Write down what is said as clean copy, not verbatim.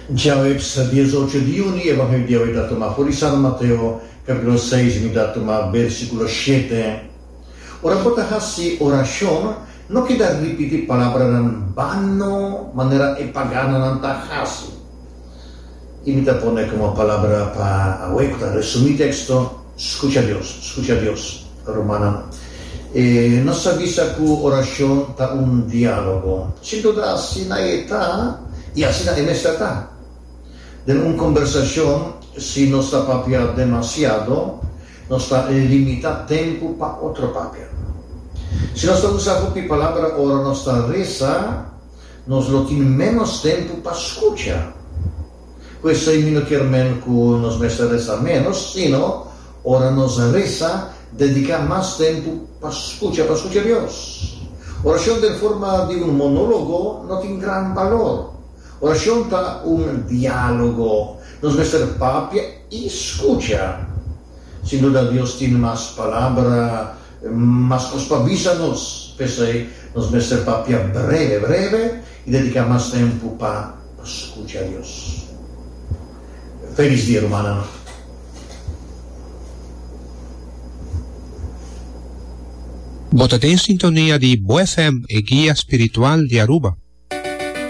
Djaweps diesocho di yüni, Evangelio di awe ta tuma for di San Mateo, kapítulo seis, mi ta tuma bèrsikulo shete. Ora bo ta hasi orashon, no keda ripití palabranan bano manera e paganonan ta hasi. I mi ta pone komo palabra pa awe ku ta resumí teksto, Skucha Dios, skucha Dios. Rumannan, e nos sa bisa ku orashon ta un diálogo. Sin duda asina e ta i asina e mester ta. Den un kombersashon, si nos ta papia demasiado, nos ta limitá tempu pa otro papia. Si nos ta usa hopi palabra ora nos ta resa, Nos lo tin ménos tempu pa skucha. Ku esei mi no kier men ku nos mester resa ménos, sino ora nos resa, dediká mas tempu pa skucha, pa skucha Dios. Orashon den forma di un monólogo no tin gran balor. Orashon ta un diálogo. Nos mester papia i skucha. Sin duda Dios tin mas palabra, mas kos pa bisa nos. P'esei nos mester papia breve breve i dediká mas tempu pa skucha Dios. Felis dia rumannan. Bo ta den sintonia di Bo FM, e guia spiritual di Aruba.